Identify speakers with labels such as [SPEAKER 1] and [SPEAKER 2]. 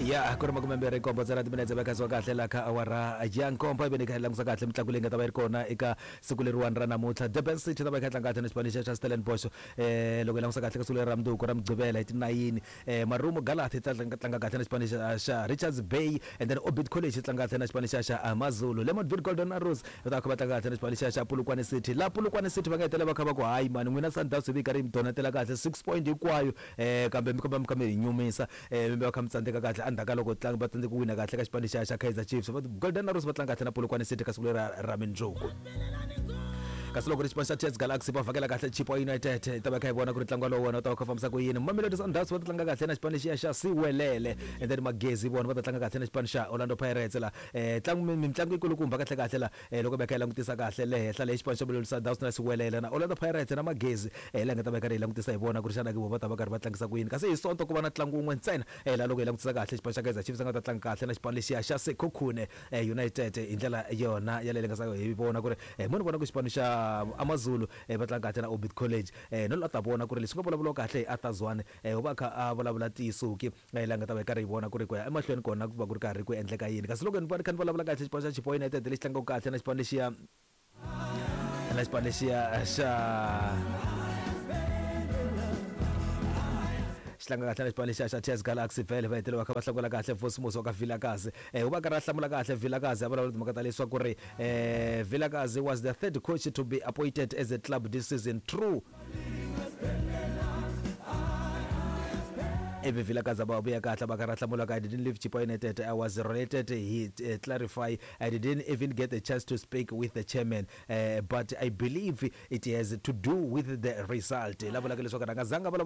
[SPEAKER 1] Ya ku ri 27 ntsena timinetse va khaziwa kahle laha ka awara ya nkombo, ivi ni kha hi langusa kahle mitlangu leyi nga ta va yi ri kona eka siku leriwani ra namuntlha. Durban City ta va yi kha yi tlanga kahle na xipano xa xa Stellenbosch. Loko hi langusa kahle ka siku leri ra mundzuku ra Mugqivela hi tinayini, Marumo Gallants yi ta tlanga kahle na xipano xa xa Richards Bay, and then Orbit College yi tlanga kahle na xipano xa xa Amazulu. Lamontville Golden Arrows va ta va kha va tlanga kahle na xipano xa xa Polokwane City. Laha Polokwane City va nga hetelela va kha va ku hayi mani n'wina Sundowns hi vi karhi yi mi donetela kahle 6 point hinkwayo, kambe mi komba mi kha mi hi nyumisa, mi va kha mi tsandzeka kahle endzhaku ka loko tlangi va tsandzeka ku wina kahle ka xipano xa xa Kaizer Chiefs. Va Golden Arrows va tlanga kahle na Polokwane City ka siku leri ra mindzuku. Kasi loko ri xipano xa TS Galaxy va vhakela kahle Chippa United, hi ta va kha hi vona ku ri ntlangu wolowo wona wu ta va kha fambisa ku yini. Mamelodi Sundowns va ta tlanga kahle na xipano lexiya xa Siwelele, and then Magezi vona va ta tlanga kahle na xipano xa Orlando Pirates la. Ntlangu mitlangu yikulukumba kahle kahle la, loko va kha hi langutisa kahle le henhla leyi xipano xa Mamelodi Sundowns na Siwelele na Orlando Pirates na Magezi, laha nga ta va karhi hi langutisa hi vona ku ri xana ke vo va ta va karhi va tlangisa ku yini. Kasi hi Sonto ku va na ntlangu wun'we ntsena, laha loko hi langutisa kahle xipano xa Kaizer Chiefs nga ta tlanga kahle na xipano lexiya xa Sekhukhune United hi ndlela yona yaleyo nga hi vona ku ri mo ni vona ku xipano xa Amazulu va tlanga kahle na Orbit College, no la ta vona ku ri leswi nga vulavuriwa kahle hi Arthur Zwane, u va kha a vulavula ntiyiso ki, laha nga ta va hi karhi hi vona ku ri ku ya emahlweni kona ku va ku ri karhi ku endleka yini. Kasi loko ni va ni kha ni vulavula kahle xipano xa Chippa United lexi tlangaka kahle na xipano lexiya na xipano lexiya xa xi tlanga kahle na xipano lexiya xa TS Galaxy, vhele va hetelela va kha va hlangula kahle Vosmos wa ka Vilakazi. U va karhi a hlamula kahle Vilakazi, a vulavula timhaka ta leswaku ri Vilakazi was the third coach to be appointed as a club this season. True. Ivi Vilakazi a va vuya kahle va karhi a hlamula ka, I didn't leave Chippa United, I was related, he clarify, I didn't even get a chance to speak with the chairman, but I believe it has to do with the result. La vulaka leswaku a nga zanga vulavula.